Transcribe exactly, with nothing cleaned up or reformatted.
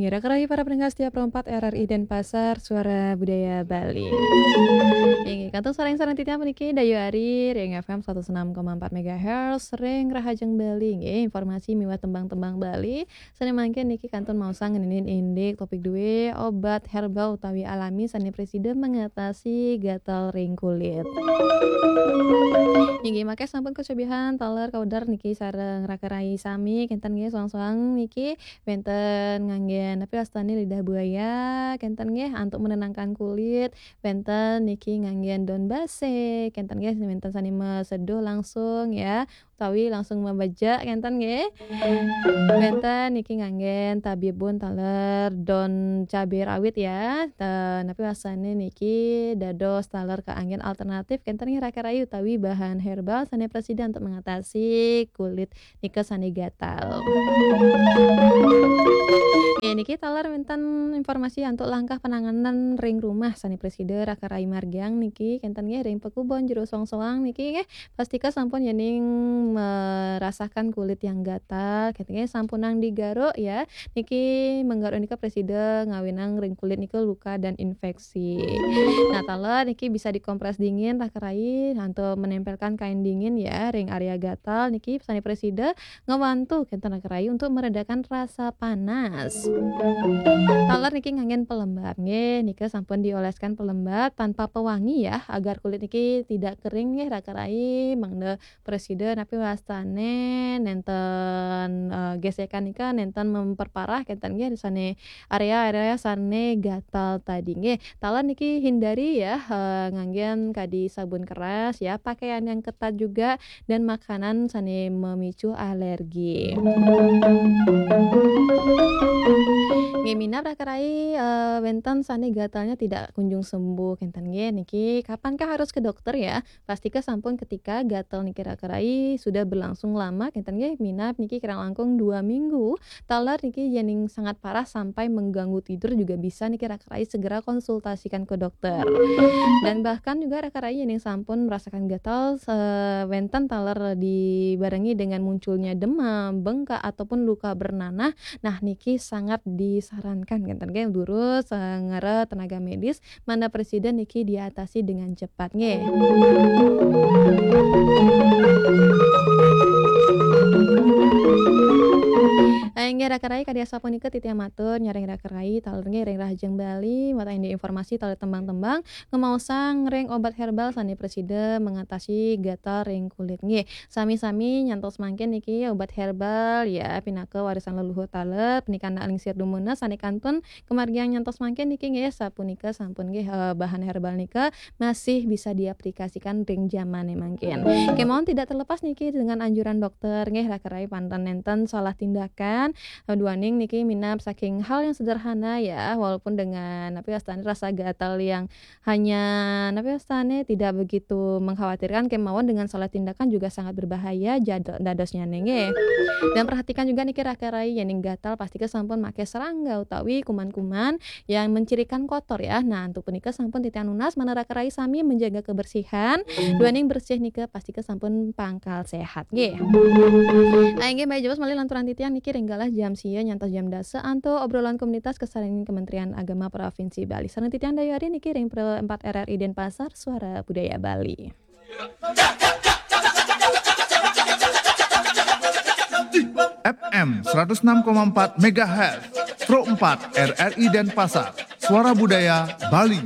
Kira kerahi para pendengar setia Pro empat R R I Denpasar, Suara Budaya Bali. Inggih, kantun sareng-sareng titiang puniki Dayu Ari ring F M seratus enam koma empat megahertz ring Rahajeng Bali. Inggih, informasi miwah tembang-tembang Bali. Sane mangkin niki kantun maosang ngeninin indik topik due, obat herbal utawi alami sane prasida mengatasi gatal ring kulit. Inggih, mangke sampun kacobihan taler kawedar niki sareng raka rai sami, kenten nggih, soang-soang niki wenten nganggen, napi wastane, lidah buaya, kenten nggih, antuk menenangkan kulit, wenten niki nganggen daun base, kenten nggih, wenten sane maseduh langsung ya, utawi langsung mabejek, kenten nggih. Wenten niki nganggen tabibun taler daun cabe rawit ya. Ta-, napi wastane niki dados taler kaanggen alternatif, kenten nggih, raka rai utawi bahan herbal sane prasida untuk mengatasi kulit nika sane gatal. Nggih, niki taler wenten informasi antuk langkah penanganan ring rumah sane prasida raka rai margiang niki, kenten nggih, ring pakubon jero soang-soang niki nggih, pastika sampun yening merasakan kulit yang gatal, kenten nggih, sampunang digaruk ya. Niki menggaruk nika prasida ngawinang ring kulit nika luka dan infeksi. Nah, taler niki bisa dikompres dingin raka rai, antuk menempelkan kain dingin ya ring area gatal niki sane prasida ngewantu kenten raka rai untuk meredakan rasa panas. Taler niki nganggen pelembab nggih, nika sampun dioleskan pelembab tanpa pewangi ya, agar kulit niki tidak kering nggih raka rai, mangda prasida napi wastane nenten, eh, gesekan nika nenten memperparah kenten nggih sane area-area sane gatal tadi nggih. Taler niki hindari ya, eh, nganggen kadi sabun keras ya, pakaian yang ketat juga dan makanan sane memicu alergi. Nggih, minab raka rai, eh, wenten sane gatalnya tidak kunjung sembuh kenten nggih niki, kapankah harus ke dokter ya? Pastika sampun ketika gatal niki raka rai sudah berlangsung lama kenten nggih, minab niki kirang langkung dua minggu, taler niki yening sangat parah sampai mengganggu tidur juga bisa niki raka rai segera konsultasikan ke dokter. Dan bahkan juga raka rai yening sampun merasakan gatal, eh, wenten taler dibarengi dengan munculnya demam, bengkak ataupun luka bernanah, nah niki sangat disarankan kenten nggih durus, eh, ngara tenaga medis mangda prasida niki diatasi dengan cepat nggih. Eh, inggih raka rai, kadi asapunika titiang matur nyareng raka rai taler nggih ring Rahajeng Bali, wantah indik informasi taler tembang-tembang ngemaosang ring obat herbal sane prasida mengatasi gatal ring kulit nggih. Sami-sami nyantos mangkin niki obat herbal ya, pinaka warisan leluhur taler, punika anak lingsir dumuna sane kantun kemargiang nyantos mangkin niki nggih, sapunika sampun nggih, eh, bahan herbal nika masih bisa diaplikasikan ring jamane mangkin. Kemawon tidak terlepas niki dengan anjuran dokter nggih, raka rai, panten nenten salah tindakan, eh, duaning niki minab saking hal yang sederhana ya, walaupun dengan napi wastane rasa gatal yang hanya napi wastane tidak begitu mengkhawatirkan, kemawon dengan salah tindakan juga sangat berbahaya jado-, dadosnyane nggih. Dan perhatikan juga niki raka rai, yening gatal pastika sampun make serangga utawi kuman-kuman yang mencirikan kotor ya. Nah, antuk punika sampun titiang nunas manah raka rai sami menjaga kebersihan. Duaning bersih nika pastika sampun pangkal sehat nggih. Ah, inggih, malih jebos malih lanturang titiang niki ring galah jam sia nyantos jam dasa antuk obrolan komunitas kasarengin Kementerian Agama Provinsi Bali. Sareng titiang Dayu Ari niki ring Pro empat R R I Denpasar, Suara Budaya Bali. F M seratus enam koma empat megahertz, Pro empat R R I Denpasar, Suara Budaya Bali.